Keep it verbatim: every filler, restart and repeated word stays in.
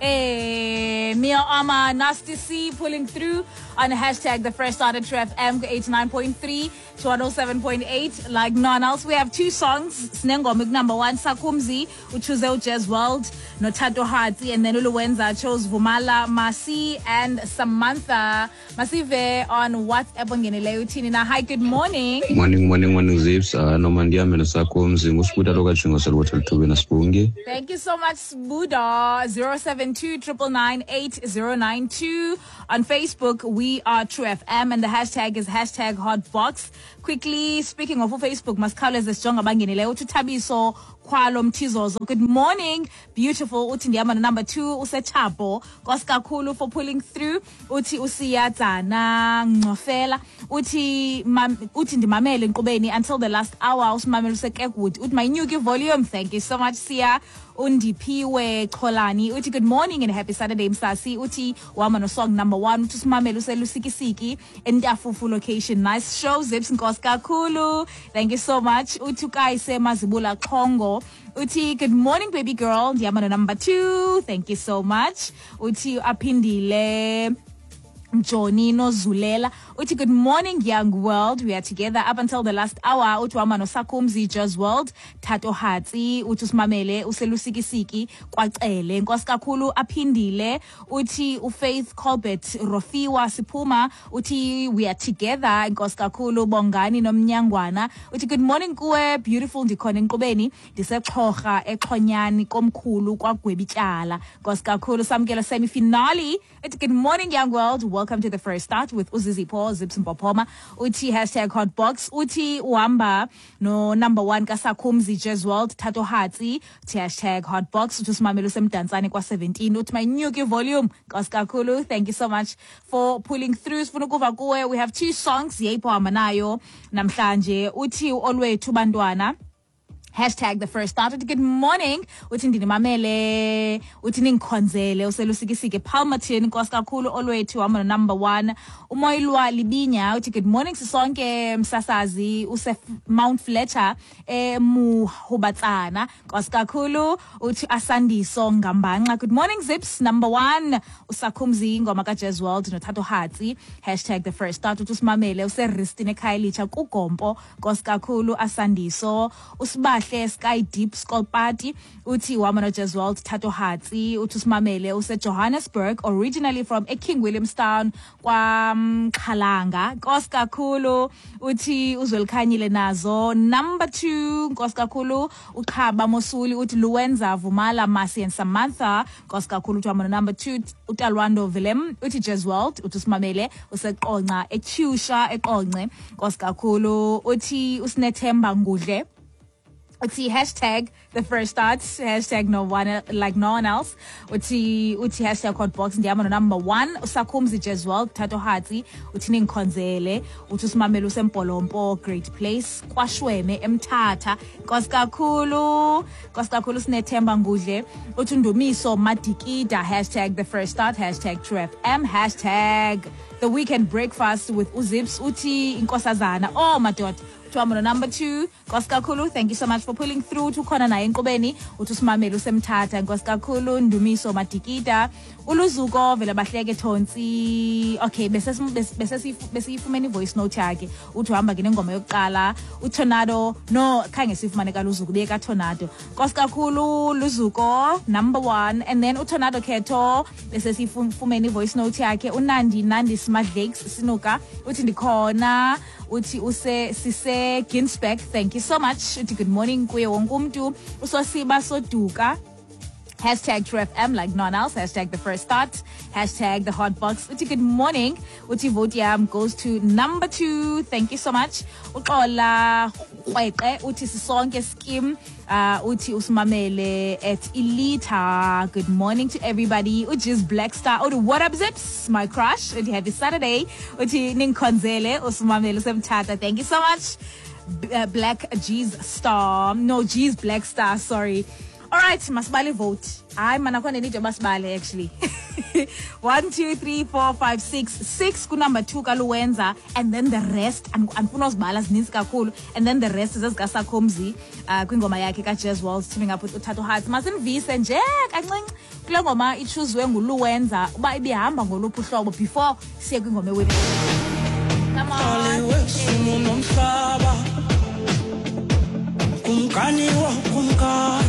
Hey, Mia Ama, Nasty C pulling through on hashtag the fresh start at True F M eighty-nine point three to one oh seven point eight. Like none else, we have two songs. Sinengoma number one, Sakumzi, uchoose Jazz World, Notato Hati, and then Uluwenza chose Vumala, Masi, and Samantha. Masive on WhatsApp ongeneleyo uthini na. Hi, good morning. Morning, morning, morning, Zips. Uh, Nomandia mina Sakumzi, nguSbuda lokajingo salwethu lithubeni Sibungi. Thank you so much, Sbuda. zero seven two triple nine eight zero nine two. On Facebook, we are True F M, and the hashtag is hashtag Hotbox. Quickly, speaking of Facebook, masikhawuleze sijonge abangenileyo. Uthi Thabiso Khwalo Mthizozo, good morning, beautiful. Uthi ndihamba number two, usechapo. Nkosi kakhulu for pulling through. Uthi uSiyatsana Ngcofela. Uthi uthi ndimamele enkqubeni until the last hour. Usimamele useKekwood. Uthi mayinyuke volume. Thank you so much, Siya. Undiphiwe Cholani uthi good morning and happy Saturday Msasi. Uthi uhamba no song number one. Uthi usimamele uselusikisiki eNtafufu location. Nice show, Zips, nkosi kakhulu. Thank you so much. Uthi uKayise Mazibula Xhongo uthi good morning baby girl, ndihamba no number two. Thank you so much. Uthi aphindile Johnny Nozulela uthi good morning young world, we are together up until the last hour. Uthi uhamba noSakumzi Jazz World Thato Hatsi. Uthi usimamele uselusikisiki kwaCele. Nkosi kakhulu. Aphindile uthi uFaith Colbert Rofiwa Siphuma uthi we are together. Nkosi kakhulu. Bongani Nomnyangwana uthi good morning kuwe beautiful, ndikhona enkqubeni ndisexhorha exhonyani komkhulu kwaGwebityala. Nkosi kakhulu. Samkelo semi finale uthi good morning young world, welcome to the first start with uZizipho Zips Mpopoma. Uthi hashtag Hotbox. Uthi uhamba no number one kaSakhumzi Jazz World Thato Hatsi. Uthi hashtag Hotbox. Uthi usimamele usemdantsane kwa seventeen. Uthi mayinyuke volume. Nkosi kakhulu. Thank you so much for pulling through. Sifuna ukuva kuwe. We have two songs yeyipho hamba nayo namhlanje. Uthi Olwethu bantwana, hashtag the first start. Good morning. Uthi ndinimamele, uthi ningikhonzele uselusikisike Palmerton. Nkosi kakhulu. Olwethu hamba number one. Umoyilwa Libinya uthi good morning sisonke msasazi use Mount Fletcher eMuhubatsana. Nkosi kakhulu. Uthi Asandiso Ngambanxa, good morning Zips, number one uSakhumzi ingoma kaJazz World noThato Hatsi, hashtag the first start. Uthi usimamele useRistine eKhayelitsha kuGompo. Nkosi kakhulu Asandiso. Usiba Sky Deep Skull Party uthi uhamba no Jazz World Thato Hatsi. Uthi usimamele use Johannesburg, originally from eKing Williamstown kwaMxhalanga. Nkosi kakhulu. Uthi uZwelikhanyile nazo number two. Nkosi kakhulu. Uqhaba Mosuli uthi Luwenza Vumala Masi and Samantha. Nkosi kakhulu. Uthi uhamba no number two. uTalwando Willem uthi Jazz World. Uthi usimamele useqonca eChusha eqonce. Nkosi kakhulu. Uthi uSinethemba Ngudle uthi hashtag the first start, hashtag no one like no one else. Uthi uthi hashtag Hotbox ndihamba no number one uSakhumzi Jazz World Thato Hatsi. Uthi ningikhonzele. Uthi usimamele useMpolompo Great Place kwaShweme eMthatha. Nkosi kakhulu. Nkosi kakhulu Sinethemba Ngudle. Uthi Ndumiso Madikida, hashtag the first start, hashtag True F M, hashtag the weekend breakfast with uZips. Uthi inkosazana, oh madoda, uthi number two. Nkosi kakhulu. Thank you so much for pulling through. Uthi ukhona naye enkqubeni. Uthi usimamele usemthatha. Nkosi kakhulu Ndumiso Madikida. Uluzuko vele bahleke Thontsi. Okay, bese bese besiyifumene voice note yakhe. Uthi uhamba ke nengoma yokuqala. uTornado, no khange sifumane kaLuzuko, beka Tornado. Nkosi kakhulu Luzuko number one, and then uTornado Khetho bese sifumene voice note yakhe. uNandi Nandi Smadlakes Sinuka uthi ndikhona. Uthi use sise Ginsberg. Thank you so much. Uthi good morning kuye wonke umntu. Usosiba Soduka, hashtag True F M like none else, hashtag the first start, hashtag the hot box. Uthi good morning. Uthi vote yam goes to number two. Thank you so much. Uxola Qweqe uthi sisonke scheme. Uh, uthi usimamele at Elita. Good morning to everybody. Uthi Black Star. Uthi what up Zips, my crush. Uthi happy Saturday. Uthi ningikhonzele usimamele usemthatha. Thank you so much. B- uh, Black G's Star. No, G's Black Star, sorry. Alright, masibale ivote. Hayi mana, akho nenide yoba sibale actually. One, two, three, four, five, six. Six kunumber two kaLuwenza, and then the rest, andifuna uzibala, zininzi kakhulu. And then the rest zezikaSakhumzi uh, kwingoma yakhe kaJazz World teaming up with uThato Hearts. Masinivise nje kancinci kule ngoma ichuzwe nguLuwenza uba ibihamba ngoluphi uhlobo before siye kwingoma ewini. Come on. Wesimo nomhlaba, kumkani wakumkani.